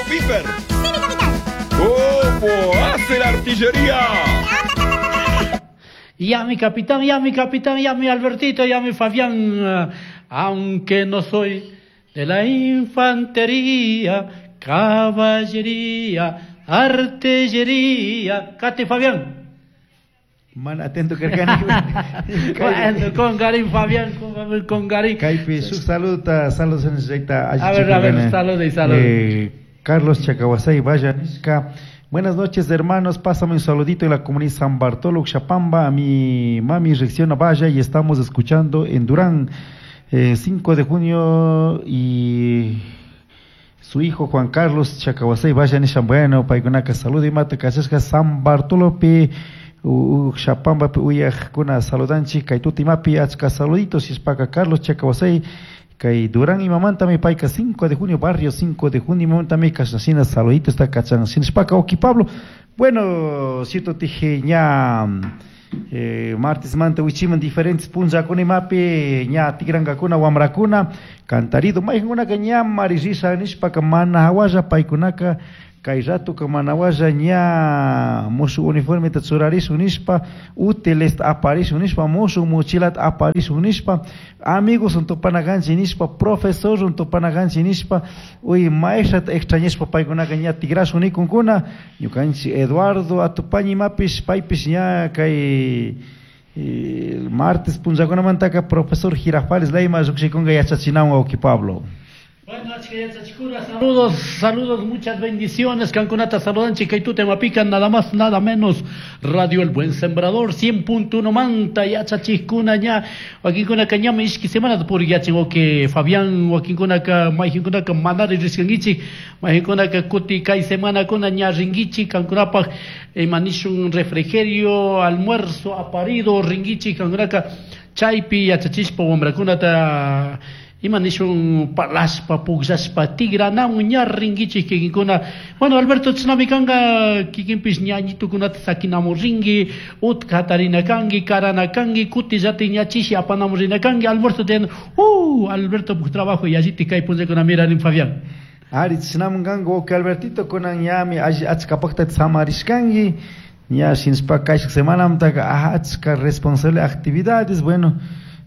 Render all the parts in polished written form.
Piper? ¡Sí, mi capitán! ¿Cómo hace la artillería? Ya mi capitán, ya mi capitán, ya mi Albertito, ya mi Fabián, aunque no soy de la infantería, caballería, artillería. Cate Fabián. Man atento karkani. Bueno, con Garín Fabián, con Garín. Kaypi shuk saluda, saludos en. A ver, saludos y saludos. Carlos Chacahuasay, vaya nishka. Buenas noches, hermanos. Pásame un saludito en la comunidad San Bartolo, Xapamba. A mi mami Reacciona Vaya y estamos escuchando en Durán, 5 de junio y su hijo Juan Carlos Chacahuasay Vaya nisha. Bueno, paykunaka saludo y mata kachashka San Bartolo pi Xapamba pi uyajkuna saludanchik kay tutimapi achka saluditos ispaka Carlos Chacahuasay kay Durán imamantami payka 5 de junio, barrio 5 de junio imamantami kashna saluditos está kachan shinashpaka Oki Pablo. Bueno, cierto tije ña martes manta wichiman diferentes punllakuna imapi ña tikrankakuna wamrakuna cantarido maykankunaka ña marisisa nishpaka mana hawalla paykunaka kay ratuka mana hawalla ña mushuk uniformeta churarishun nishpa útilesta aparishun nishpa mushuk mochilata aparishun nishpa amigos tupanakanchik nishpa profesor tupanakanchik nishpa uy maestrata extrañashpa paykunaka ña tikrashun nikunkuna ñukanchik Eduardo atupaña imapish paypish ña kay martes punllakunamantaka profesor Girafales Leyma llukshikunka yachachinawan wawki Pablo. Bueno, saludos, saludos, muchas bendiciones. Kankunata saludanchik, kay tutemapica, nada más, nada menos. Radio El Buen Sembrador, 100.1 manta, yachachikuna ña, wakinkuna ñami ishki semana por yachin, o que Fabián, wakinkuna mayjinkuna manari riskangichik, mayjinkuna kuti kay semana kuna ña ringichik, kankunapaj manishun refrigerio, almuerzo, aparido, ringichik, kankunaka chaypi yachachishpa wamrakunata ima nishun palashpa pukllashpa tigranawan ña rinkichik kikinkuna. Bueno, Alberto chishnami kanka kikinpish ñañitukunata sakinamun rinki, utka hatarina kanki, karana kanki, kutillati ña chishi apanamun rina kanki, almuerzo tiyan, Alberto puk trabajo yalliti kay punllakuna mirarin Fabián. Ari chishnamun kanka wawki Albertito kunan ñami achka paktata samarishkanki, ña shinashpa kayshuk semanamantaka achka responsable actividades, bueno,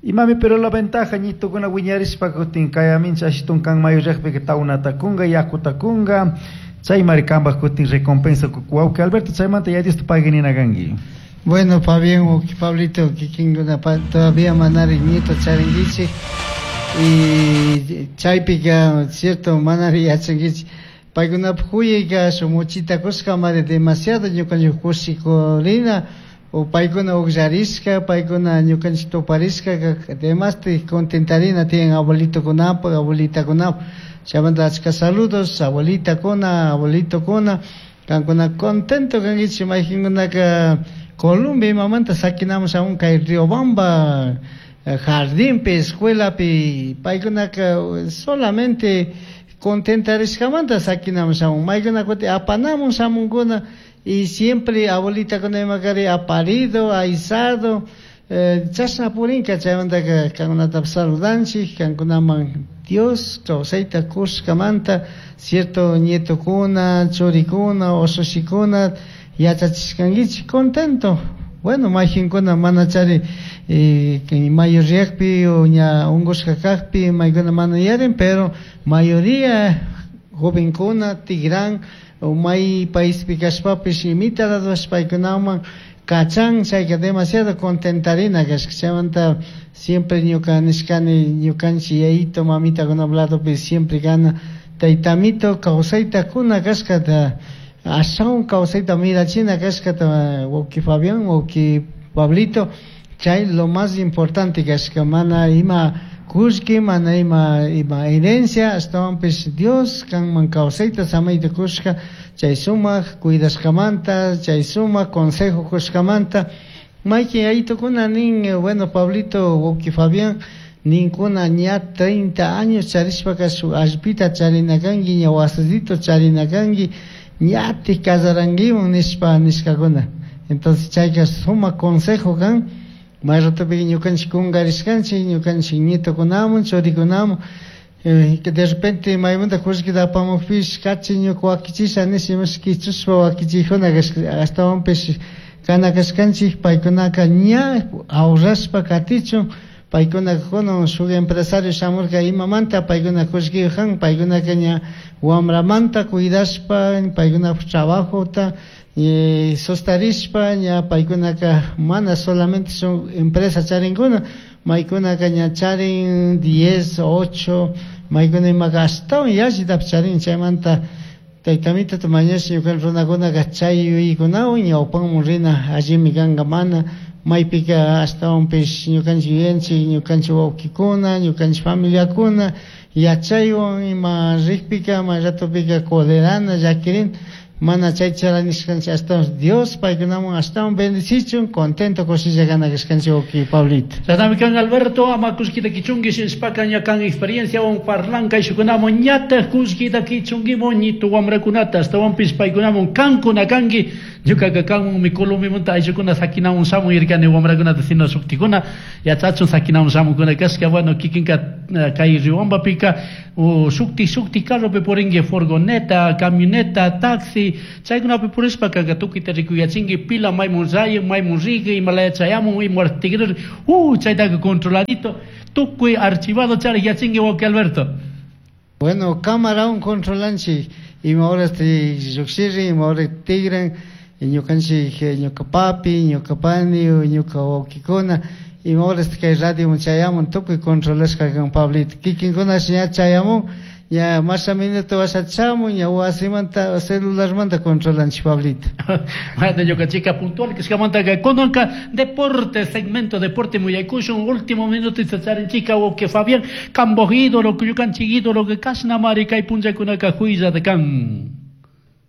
y mami, pero la ventaja ñitukuna wiñarishpa kutin kayamincha ashitun kan mayullakpika tawnata kunga, yakuta kunga, chaymari kanpak kutin recompensa wawki Alberto, chaymanta ya Dios te pague nina kanki. Bueno, Fabián, wawki Pablito, kikinkuna todavía manari ñito charinkichik y chaypika, cierto, manari yachankichik. Paykunapaj huyayka shuk muchita kushka mari demasiado ñukanchik kushikurina, o paykuna ukllarishka, paykuna ñukanchik tuparishka, demasti contentarina tiyan abuelitokunapaj, abuelitakunapaj. Chaymanta achka saludos, abuelitakuna, abuelitokuna, kankuna contento kankichik mayqinkunaka Colombia imamanta sakinamun shamun kay Riobamba jardinpi, escuelapi, paykunaka solamente contentarishkamanta sakinamun shamun, maykuna kuti apanamun shamunkuna y siempre abuelita kuna imakari aparido, aizado, chashna purinka chaymantaka kankunata saludanchik, kankunaman Dios kawsayta kushkamanta cierto nietokuna, churikuna, ushushikuna yachachishkankichik contento. Bueno, mayqinkuna mana chari mayoriyakpi o ña unqushka kakpi maykuna mana yarin, pero mayoría jovenkuna tigran o may paispi kashpapish imita raduash paykunaman kachan, chayka demasiado contentarina kashka. Chaymanta siempre ñuka nishkani ñukanchik yayito mamitakuna ladopi siempre gana taytamito kawsayta kuna kashkata ashawan kawsayta mirachina kashkata wawki Fabián, wawki Pablito, chay lo más importante kashka, mana ima kullki, mana ima herencia, ashtawanpish Dios kanman kawsayta samayta kushka, chay sumak cuidashkamanta, chay sumak consejo kushkamanta. Maykin yayitokuna nin, bueno, Pablito, wawki Fabián, ninkuna ña 30 años charishpaka shuk allpita charina kanki, ña wasito charina kanki, ñatik kasarankiman nishpa nishkakuna. Entonces chayka sumak consejo kan, may ratopi ñukanchik kunkarishkanchik, ñukanchik nietokunaman, churikunaman, De repente maymanta kullkita apamukpish kachi ñuka wakichisha nish imash kichushpa wakichijuna ashtawanpish kana kashkanchik paykunaka ña ahorrashpa katichun. Paykunaka kunan shuk empresario shamurka imamanta paykuna kullkiyuq kan, paykunaka ña wamramanta cuidashpa paykunapak trabajota sostarishpa ña paykunaka mana solamente shuk empresa charinkuna, maykunaka ña charin 10, 8, maykuna imaka ashtawan yallitapish charin. Chaymanta taytamitata mañash ñuka runakunaka chay yuyaykunawan ñawpanman rina allimi kanka, mana maypika ashtawanpish ñukanchik yuyanchik ñukanchik wawkikuna ñukanchik familiakuna yachaywan ima rikpika may ratopika colerana llakirin, mana chay charanishkanchik ashtawan Dios paykunaman ashtawan bendicichun, contento kushilla kana kashkanchik wawki Pablito. Chashnami kan Alberto, ama kullkita kichunki shishpaka ña kan experienciawan parlanka ishukunaman ñataj kullkita kichunkimun ñitu wamrakunata ashtawanpish paykunaman kankuna kanki, ñukaka kanmanmi Colombia ayllukuna sakinamun shamun irkani wamrakunata sino shuktikuna yachachun sakinamun shamunkuna kashka. Bueno, kikinka kay Riobambapika shukti shukti carropi purinki, furgoneta, camioneta, taxi, chaykunapi purishpaka tukuyta rikuyachinki, pila maymun rayan, maymun riki, imalaya chayamun, ima tigrir, chaytaka controladito, tukuy archivado charik yachinki wawki Alberto. Bueno, cámara controlanchik, ima horas te llukshirin, ima horas tigran, ñukanchik ñuka papi, ñuka pani, ñuka wawkikuna, ima horas kay radio chayamun, tukuy controlashka kan Pablito. Kikinkuna ña chayamun, ña masha minuto washachamun, ña wasimanta celularmanta controlanchik Pablito. Bueno, ñukanchika puntual kashkamanta kunanka deporte, segmento deporte muyaykushun, último minuto charinchika wawki Fabián, kamboj ídolo, ñukanchik ídolo, kashna mari kay punllakunaka juilla de kan.